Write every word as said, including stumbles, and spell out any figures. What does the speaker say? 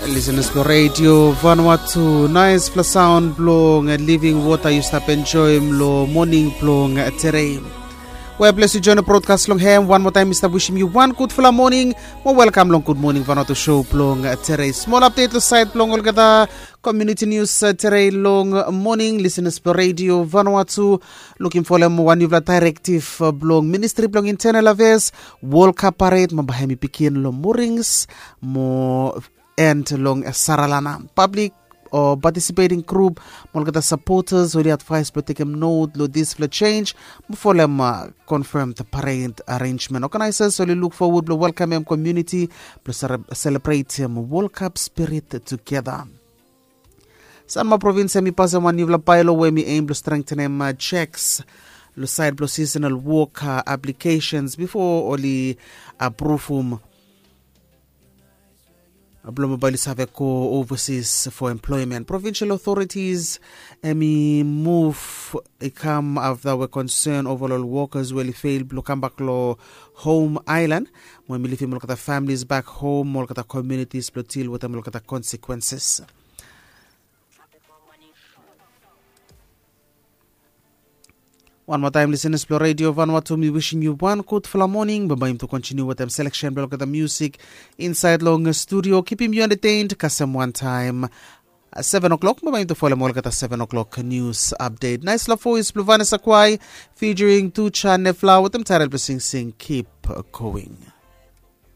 Lisenas blong redio Vanuatu, naispela saun blong living water yu stap enjoim long moning blong terei. We ples yu join brodkas long hem, wan moa taim mi stap wisim yu wan gudfala moning. Mo welkam long Gud Moning Vanuatu show blong terei. Smol apdet long sait blong olgeta community news terei long moning. Lisenas blong redio Vanuatu, lukim folem wan niufala dairektiv blong ministri blong internal affairs. World Cup parade mo bae hem i pikin long mornings mo end long Saralana. Public o participating group mo olgeta supporters oli advise blong tekem note long dispela change mo folem confirmed parade arrangement. Organizers oli look forward blong welkamem community blong selebretem World Cup spirit together. Sanma provins em i pasem wan niufala bailo we mi aim blong strengthenem checks long sait blong seasonal work applications before oli apruvum blong bae oli save go overseas for employment. Provincial authorities em i move i kam afta we concern over ol workers we oli fail blong kambak long home island mo em i livim olgeta families back home mo olgeta communities blong deal wetem olgeta consequences. Wan moa taim lisenas blong redio Vanuatu, mi wisim yu wan gudfala moning. Bambae yumi tu kontiniu wetem seleksen blong olgeta musik insaid long studio. Kipim yu entertained kasem wan taim seven o'clock. Bambae yumi tu folem olgeta seven o'clock news update. Naispela voes blong Vanessa Kwai featuring Tucha Nefla wetem taitol blong singsing Keep Going.